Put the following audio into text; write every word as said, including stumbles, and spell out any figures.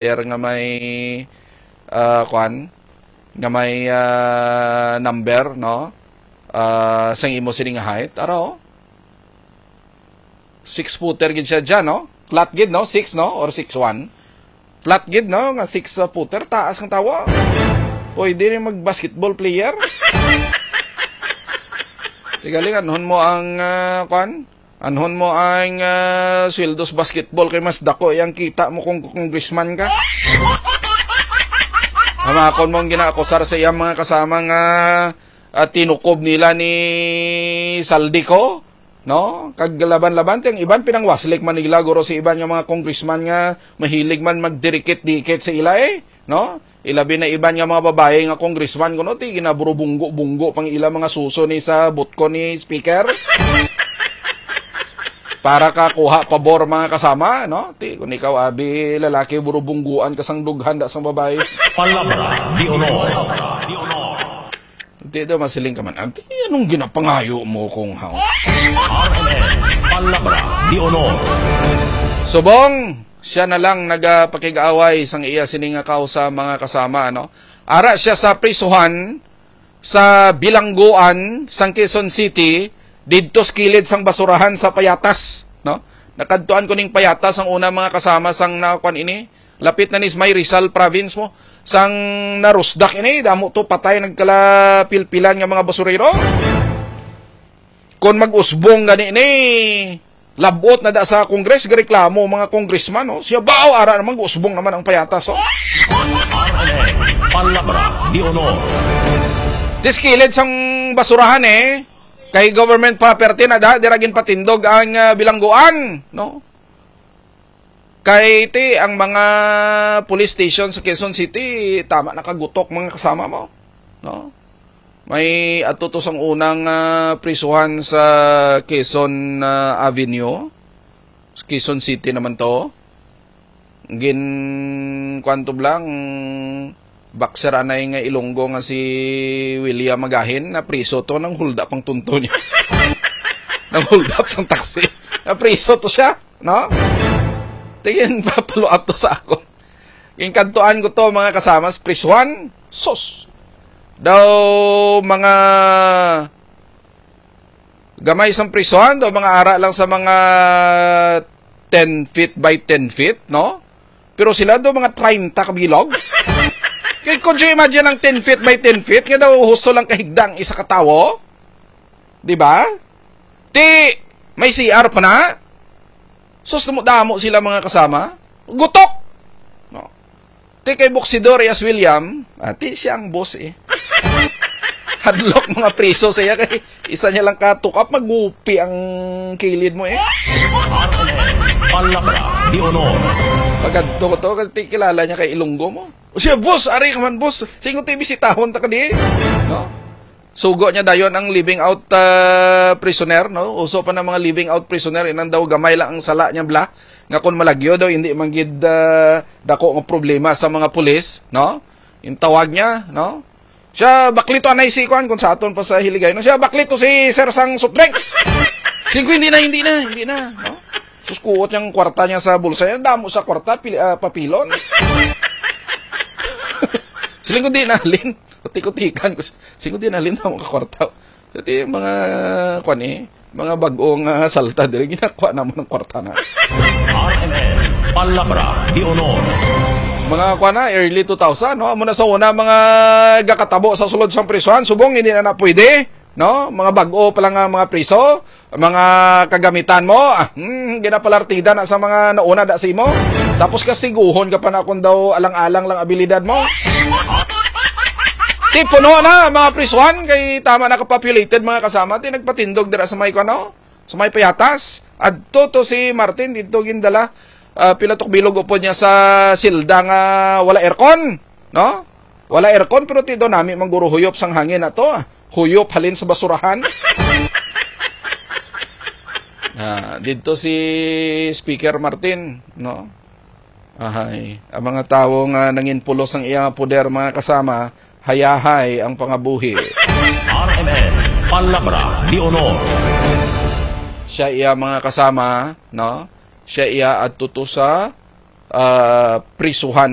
player nga may, ah, kwan, nga may, ah, number, no? Ah, sang imo sini nga height. Ara, oh. Six footer gid siya dyan, no? Flat gid, no? Six, no? Or six one. Flat gid, no? Nga six, uh, footer. Taas ang tawa. Pwede rin mag-basketball player. Tigaling, anhon mo ang, ah, kwan? Anhon mo ang, ah, sweldo sa basketball kay mas dako yang kita mo kung congressman ka. Hamakon mo ang ginaakusar sa iyang mga kasama nga, ah, tinukob nila ni Saldico, no? Kag laban-laban, ti ang iban pinangwaslik man nila, guro, si iban nga mga congressman nga mahilig man magdikit-dikit sa ila, eh, no? Ilabi na iban nga mga babae nga congressman, kuno, ti ginaburubunggo-bunggo pang ila mga suso ni sa butko ni speaker. Para ka kuha pabor, mga kasama, no? Ti, kung ikaw, abi, lalaki, burubungguan ka sang dughan da sang babae. Palabra de honor. Di daw masiling ka man, "Ante, anong ginapangayo mo kung haw?" R M N, Palabra de Honor. Subong, siya na lang nagapakig-away sang iya sini nga kausa, mga kasama, ano? Ara siya sa prisuhan sa Bilangguan, sang Quezon City, didto sa kilid sang basurahan sa Payatas, no? Nakadtuan ko ning Payatas ang una, mga kasama, sang nakuan ini. Lapit na ni sa may Rizal province mo. Sang narusdak ini, damo to patay, nagkalapilpilan nga mga basurero. Kon mag-usbong gani ni, labot na da sa Congress, gareklamo mga congressman, no? Siya ba, o, ara naman, usbong naman ang Payatas, oh. Palabra de honor. Tiskilid sang basurahan, eh. Kay government property na da, dira ginpatindog ang, ah, bilangguan, no? Kay ti ang mga police station sa Quezon City, tama nakagutok, mga kasama mo, no? May ato to sang unang, ah, prisuhan sa Quezon, ah, Avenue. Sa Quezon City naman to. Gin, kwanto lang, boxer anay nga Ilonggo nga si William Magahin, na priso to, nang hulda pang tunto niya. Nang hulda sang taxi. Na priso to siya, no? Tingin, papaluat to sa ako. Ginkadtuan ko to, mga kasama, sa prisuhan. Sus! Daw, mga gamay sang prisuhan, daw, mga ara lang sa mga ten feet by ten feet, no? Pero sila daw, mga treinta ka bilog. Kay, could you imagine ang ten feet by ten feet? Nga daw, husto lang kahigda ang isa ka tawo. Di ba? Ti, may C R pa na. Sus, damo-damo sila, mga kasama. Gutok! No. Ti kay Buksidor, yes, William. Ah, ti siya ang boss, eh. Hadlok mga priso sa iya kay isa niya lang ka-took up, magupi ang kilid mo, eh. Palabra de honor. Pagadto ko to, kasi kilala niya kay Ilonggo mo. O siya, "Boss, ari ka man, boss. Singon ti bisitahon ta ka di." No? Sugo niya dayon ang living out, ah, prisoner, no? Uso pa na mga living out prisoner, inang daw gamay lang ang sala niya, bla. Nga kung malagyo daw, hindi man gid, ah, dako nga problema sa mga pulis, no? Yung tawag niya, no? Siya, baklito anay si kuan, kung sa aton pa sa Hiligay, no? Siya, baklito si Sir sang soft drinks. Singko, hindi na, hindi na, hindi na, no? Sus, kuot niyang kwarta niya sa bulsa niya. Damo sa kwarta, pili, ah, papilon. Siling ko, "Di na, Lin." Utik-utikan ko. Siling ko, "Di na, Lin, damo ka kwarta." Ito yung mga, kwan eh, mga bag-ong, ah, salta diri, ginakuha naman ng kwarta na. R M N, Palabra de Honor. Mga kwan na, early two thousand, no? Amo na sa una, mga gakatabo sa sulod sang prisuhan, subong, hindi na na pwede, no? Mga bag-o pa lang ang mga priso, mga kagamitan mo, ah, hmm, ginapalartida na sa mga nauna da sa imo. Tapos kastiguhon ka pa na kung daw alang-alang lang abilidad mo. Ti puno na, mga prisuhan, kay tama na ka-populated, mga kasama. Ti nagpatindog dira sa may, ano, sa may Payatas. Adto to si Martin, dito gindala. Ah, pila to ka bilog upod niya sa silda nga wala aircon, no? Wala aircon, pero ti daw nami mangguro huyop sang hangin na to, ah. Huyop halin sa basurahan. Ah, dito si Speaker Martin, no? Ahay, ang mga tawo nga nanginpulos ang iyang poder, mga kasama, hayahay ang pangabuhi. R M N, Palabra de Honor. Siya iya, mga kasama, no? Siya iya adto to sa ah, prisuhan.